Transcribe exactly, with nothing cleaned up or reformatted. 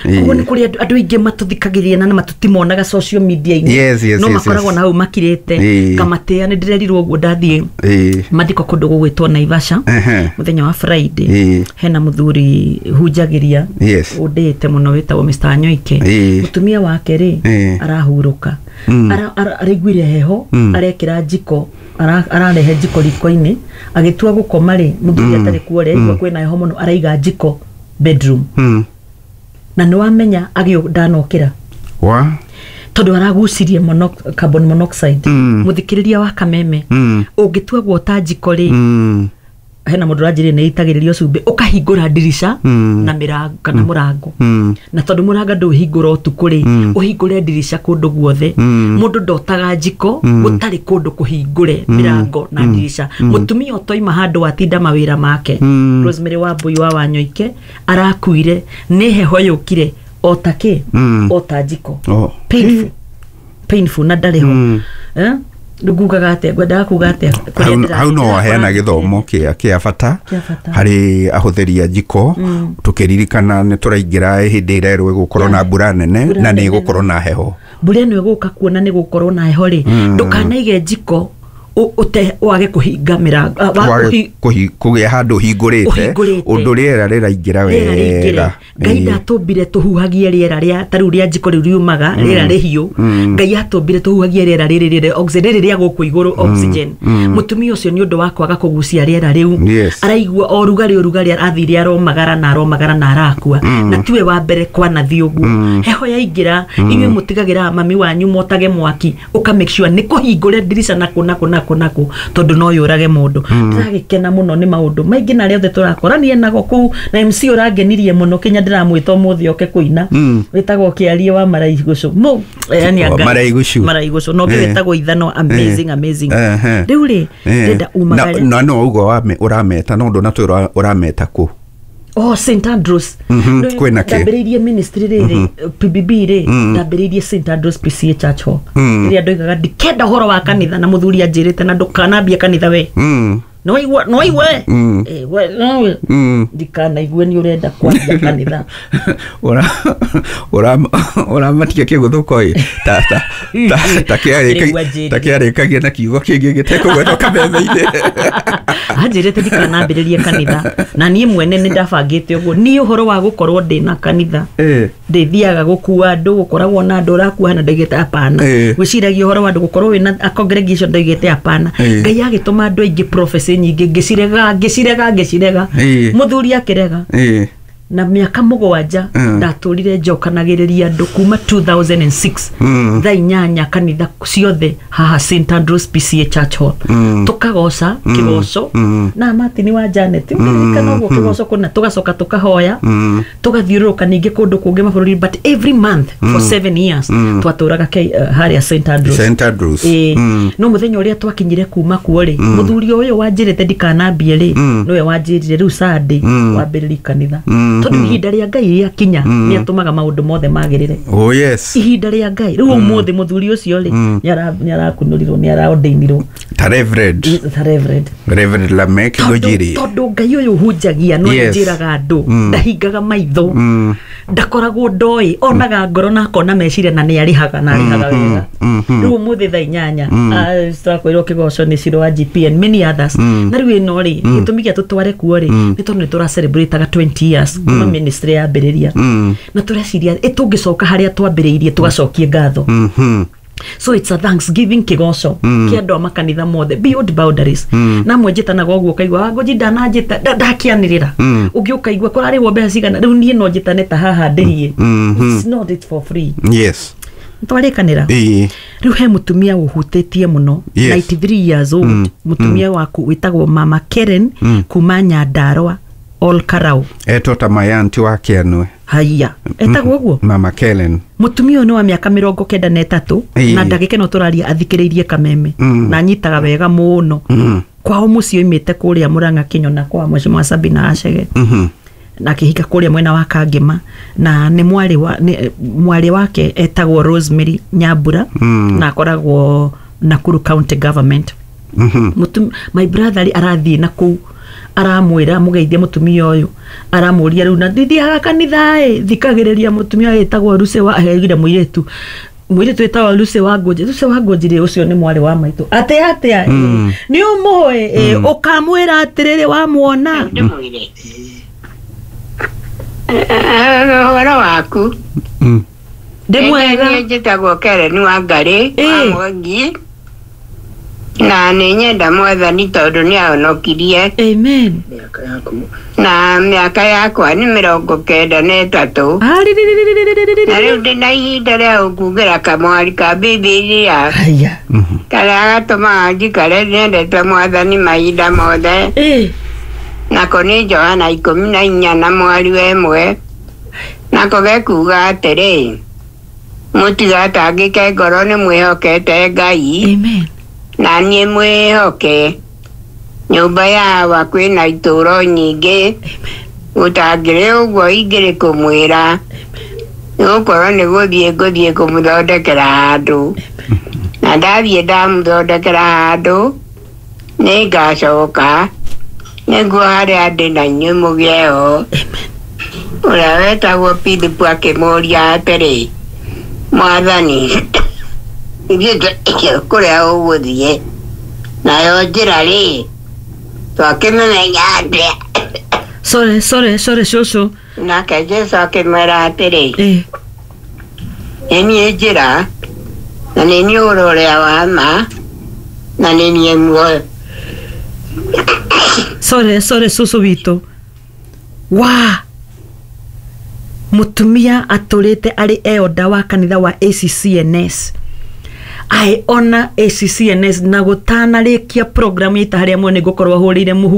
Koguo nĩ kũrĩ andũ andũ aingĩ matũthikagĩrĩria na matũtimonaga social media-inĩ. Yes, yes, no yes, makoragwo yes. na hau makirĩte. Ĩĩ. Ngamatĩa nĩ ndĩrerirwo ũguo ndathiĩ Ĩĩ. mathiko kũndũ gũgwĩtwo Naivasha Ehe. mũthenya wa Friday. Ĩĩ. Hena mũthuri hunjagĩria Yes. ũndĩte mũno wĩtagwo Mister Anyoike. Ĩĩ. Mũtumia wake rĩ, Ĩĩ. arahurũka. Mm. Ara- ara- araiguire heho, Mm. arekĩra njiko, ara- ararehe njiko riko-inĩ, agĩtua gũkoma rĩ, mũthuri atarĩ kuo rĩ, aigua kwĩna heho mũno, araiga njiko bedroom. Mm. Na nĩ wamenya agĩũ ndanokĩra Wa? tondũ aragucirie mono, carbon monoxide. Mm. Mũthikĩrĩria wa Kameme, Mm. ũngĩtua guota njiko rĩ, Mm. hena mũndũ ũranjĩrire nĩ ĩitagĩrĩrio cumbĩ, ũkahingũra ndirica Mm. na mĩrango kana mũrango. Mm. Na tondũ mũrango ndũhingũra ũtukũ rĩ, Mm. ũhingũre ndirica kũndũ guothe. Mm. Mũndũ ndotaga njiko Mm. gũtarĩ kũndũ kũhingũre mĩrango na ndirica. Mũtumia ũtoima handũ atinda mawĩra make. Mm. Rosemary Wambui wa Wanyoike arakuire nĩ heho yũkire o ta kĩ, Mm. o ta njiko. Oh. Painful, painful, na ndarĩ ho. Mm. Eh? Rĩu ngugaga atĩa, ngwendaga kuga atĩa kũrĩa Hau ndĩra- hau no ndĩrakora waheana gĩthomo kĩa kĩa bata Kĩa bata. harĩ ahũthĩri a njiko, tũkĩririkana nĩ tũraingĩra hĩndĩ ĩrĩa ĩgũkorwo na mbura nene Mbura na nĩ nene. ĩgũkorwo na heho. Mbura ĩno ĩgũka kuona nĩ gũkorwo na heho rĩ, ndũkanaige njiko ũ- ũte wage kũhinga mĩrango, ah, wa- Wage kũhi- kũhi- kũgĩa handũ hingũrĩte Ũhingũrĩte. ũndũ rĩera rĩraingĩra rĩera rĩingĩre. wega. Ngai Ĩĩ. ndatũmbire tũhuhagie rĩera rĩa ta rĩu rĩa njiko rĩu riumaga rĩera rĩhiũ. Ngai atũmbire tũhuhagie rĩera rĩrĩ rĩrĩ oxygen, rĩrĩ rĩa gũkũ igũrũ, oxygen. Mũtumia ũcio nĩ ũndũ wa kwaga kũgucia rĩera rĩu, Yes. araigua o rugarĩ o rugarĩ, athire aromagara na aromagara na arakua. Na tiwe wa mbere kwanathiĩ ũguo heho yaingĩra. Inyuĩ mũtigagĩra mami wanyu motage mwaki, ũka make sure nĩ kũhingũre ndirica nakũ nakũ nakũ nakũ, tondũ no yũrage mũndũ. Ndĩragĩkena mũno nĩ maũndũ maingĩ na arĩa othe tũrakorania nago kũu, na M C ũrangenirie mũno kinya ndĩramwĩta ũmũthĩ oke kũina, wĩtagwo Kĩarie wa Maraigucu. Mũ yani Oh, anga- Maraigucu. Maraigucu no Eh. wĩtagwo Ithano. Amazing, amazing. Ehe. Rĩu rĩ, Eh. ndĩrenda umagare. na na no ugo wame- ũrameta no ndũnatwĩra ũrameta kũ. Oh, Saint Andrews. Mhm, Rĩu kwĩna kĩ? ndambĩrĩirie ministry rĩrĩ P B B rĩ, ndambĩrĩirie Saint Andrews P C A Church Hall, rĩrĩa ndoigaga ndikenda ũhoro wa kanitha, na mũthuri anjĩrĩte na ndũkanambie kanitha we. Mm. Nĩwaigua, nĩwaigua we? Mm. Eh, we nowe Mm. ndikanaigue nĩ ũrenda kwambia kanitha. Ura- ura- ũramatia kĩgũthũko ĩ ta ta ta ta kĩarĩka- Rĩu anjĩrire. ta kĩarĩkagia na kiugo kĩngĩ gĩtekũgwetwo kameme-inĩ. Anjĩrĩte ndikanambĩrĩrie kanitha, na niĩ mwene nĩ ndabangĩte ũguo niĩ ũhoro wa gũkorwo ndĩna kanitha, Eh. ndĩthiaga gũkua andũ, gũkoragwo na andũ ũrakua, na ndoigĩte hapana. Eh. Gwĩciragia ũhoro wa andũ gũkorwo wĩna a congregation, ndoigĩte hapana. Eh. Ngai agĩtũma andũ aingĩ, prophecy nyingĩ ngĩcirega, ngĩcirega, ngĩcirega. Eh. Mũthuri akĩrega. Eh. Na mĩaka mũgwanja Mm. ndatũrire njokanagĩrĩria andũ kuma two thousand and six, Mm. thaa inyanya, kanitha ciothe haha Saint Andrews P C A Church Hall, Mm. tukagoca kĩgoco Mm. na Martin wa Janet, ũkĩririkana ũguo kĩgoco kũna, tũgacoka tũkahoya, Mm. tũgathiũrũrũka ningĩ kũndũ kũngĩ mabũrũri, but every month for seven years twatũraga K- uh, harĩa Saint Andrews. Saint Andrews. Ĩĩ. Mm. No mũthenya ũrĩa twakinyire kuma kuo rĩ, mũthuri ũyũ wanjĩrĩte ndikanambie rĩ, nĩwe wanjĩrire rĩu Sunday wambĩrĩrie kanitha, Mm. tondũ ihinda rĩa Ngai rĩakinya nĩ atũmaga maũndũ mothe magĩrĩre. Oh yes. Ihinda rĩa Ngai rĩu ũmũthĩ mũthuri ũcio rĩ, nĩ arakunũrirwo, nĩ araordainirwo Ta Reverend. Ta Reverend. Reverend Lamek Tondũ- Ngũjiri. Tondũ Ngai ũyũ hunjagia no Yes. njĩraga andũ ndahingaga maitho, ndakoragwo ndoĩ, onaga ngoro na akona meciria, na nĩ arĩhaga na arĩhaga wega. Rĩu ũmũthĩ thaa inyanya ah, twakwĩrwo kĩgoco nĩ Ciro wa G P and many others. Na rĩu ĩno rĩ, gĩtũmi gĩa tũtware kuo rĩ, nĩ tondũ nĩ tũra celebrate twenty years kuma ministry yambĩrĩria, na tũreciria ĩ tũngĩcoka harĩa twambĩrĩirie tũgacokie ngatho. Mhm. So it's a thanksgiving kĩgoco kĩa andũ a makanitha mothe beyond boundaries. Na amwe njĩtanaga ũguo ũkaigua Wangũnji ndananjĩta nda- ndakĩanĩrĩra, ũngĩ ũkaigua kũrarĩhwo mbeca cigana. Rĩu niĩ no njĩtane ta haha ndĩhie. It's not it for free. Yes. Twarĩkanĩra. Ĩĩ. Rĩu he mũtumia ũhutĩtie mũno, Yes. ninety-three years old, mũtumia waku wĩtagwo Mama Karen kuma Nyandarua, Ol Karau. Etwo ta mayanti wa Kĩanue. Haiya, etagwo ũguo. Mama Kellen. Mũtumia ũyũ nĩ wa mĩaka mĩrongo kenda na ĩtatũ. Ĩĩ. Na ndagĩka ĩno tũraria athikĩrĩirie Kameme na anyitaga wega mũno. Kwao mũciĩ oimĩte kũrĩa Mũrang'a Kĩnyona kwa Mheshimiwa Sabina Acege, Mhm. na akĩhika kũrĩa mwena wa Kangema, na nĩ mwarĩ wa nĩ, mwarĩ wake etagwo Rosemary Nyambura, na akoragwo Nakuru County Government. Mũtum- my brother rĩ arathiĩ na kũu, aramwĩra mũgeithie mũtumia ũyũ, aramũria rĩu na ndithiaga kanitha ĩ, thikagĩrĩria mũtumia ũyũ ĩtagwo Lucy wa aheire mũirĩtu mũirĩtu wĩtagwo Lucy wa Ngũnji. Lucy wa Ngũnji rĩ, ũcio nĩ mwarĩ wa maitũ atĩ atĩa Mm. nĩ ũmũĩ ĩ, ũkamwĩra atĩrĩrĩ wamwona. Ndĩmwĩre ũhoro waku. Mm. Ndĩ mwega. Niĩ njĩtagwo Karen wa Ngarĩ wa Ĩ. Mwangi, na nĩ nyenda Mwathani tondũ nĩ ahonokirie. Amen. Na mĩaka yakwa nĩ mĩrongo kenda na ĩtatũ, na rĩu ndĩ na ihinda rĩa gũkugĩra kamwari ka Bibilia Haya. Mhm. karĩa gatũmaga njikare nyendete Mwathani mahinda mothe. Ĩ. Nako nĩ Johana ikũmi na inya na mwari wa ĩmwe, nako gekuga atĩrĩ, mũtigatangĩke ngoro, nĩ mwĩhokete Ngai, Amen. na niĩ mwĩhoke. Nyũmba ya Awa kwĩna itũũro nyingĩ, gũtangĩrĩ ũguo ingĩrĩ kũmwĩra, nĩgũkorwo nĩ gũthiĩ ngũthiĩ kũmũthondekera handũ, na ndathiĩ ndamũthondekera handũ nĩ ngacoka nĩguo harĩa ndĩ na inyuĩ mũgĩe ho. Ũrĩa wetagwo Philip akĩmũũria atĩrĩ, Mwathani, ithuĩ tũĩ kũrĩa ũgũthiĩ, nayo njĩra rĩ, twakĩmĩmenya atĩa? Sorry, sorry, sorry, cũcũ. Nake Jesũ akĩmwĩra atĩrĩ, Ĩ. nĩ niĩ njĩra na nĩ niĩ ũhoro ũrĩa wa ma na nĩ niĩ muoyo. Sorry, sorry, cũcũ witũ wa mũtumia atũrĩte arĩ elder wa kanitha wa A C C N S. I honor A C C N S na gũtanarĩkia program ita harĩa muone ngũkorwo hũrĩire mũhu.